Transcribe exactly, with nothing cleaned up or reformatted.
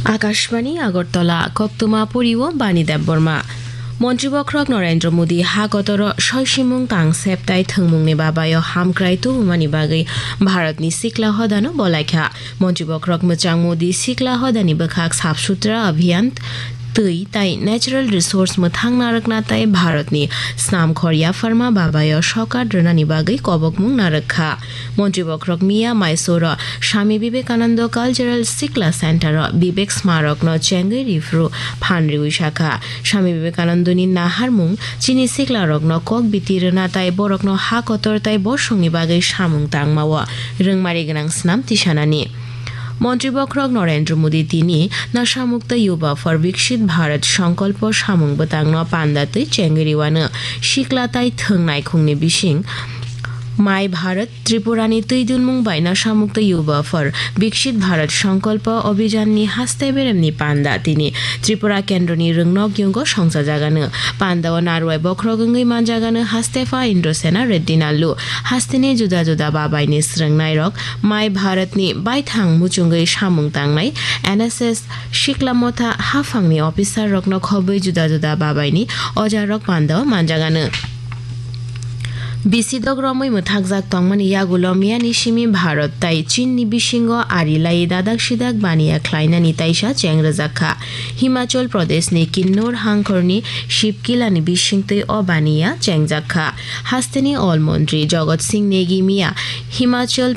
Akashbani Agartala, koktwma poriwo Bani Debbarma. Montri bokhorok Narendra Modi ha kotoro soisimung tang sep tai thwngmungni babayo hamkrai tubumani bagwi Bharatni sikla hodano bolaikha. Montri bokhorok mwchang Modi sikla hodani bwkhak Saf Sutra Abhiyan, twi tai natural resource mwthang narwkna tai Bharatni snamkhor yapharma babayo sokat rwnani bagwi kobokmung narwkha. Montri bokhorok miya Mysore-o Swami Vivekananda Cultural Sikla Center-o Vivek Smarokno chengwi riphru phan riwi sakha, Swami Vivekanandani naharmung chini siklarokno kok biti rwna tai borokno ha kotor tai bosongni bagwi samung tangmao rwngmari gwnang snam tisanani. Montri bokhorok Narendra Modi tini Nasha Mukta Yuva for Viksit Bharat Sankalpa samung bwtangno panda twi chengwi riwano sikla tai thwng naikhungni bising My Bharat Tripurani twi dunmung bai Nasha Mukta Yuva for Viksit Bharat Sankalpa Abhijanni haste beremni panda tini Tripura kendroni rwngnok yungo songchajagano. Pandao narwai bokhorok wngwi manjagano haste pha Indrasena Reddy Nallu. Hasteni juda juda babaini swrwngnairok Mai Bharatni baithang muchungwi samung tangnai N S S Shikla Motha haphangni officer rokno khobwi juda juda babaini ojarok pandao manjagano. Bisidok romwi mwthakjak tongmani yagulo miyani simi Bharat tai Chinni bisingo ari lai dadak sidak baniya khlainani taisa cheng rwjak kha. Himachal Pradeshni Kinnor hangkhorni Shibkilani bisingtwi o baniya chengjak kha. Hasteni Ol Montri Jagat Singh Negi miya Himachal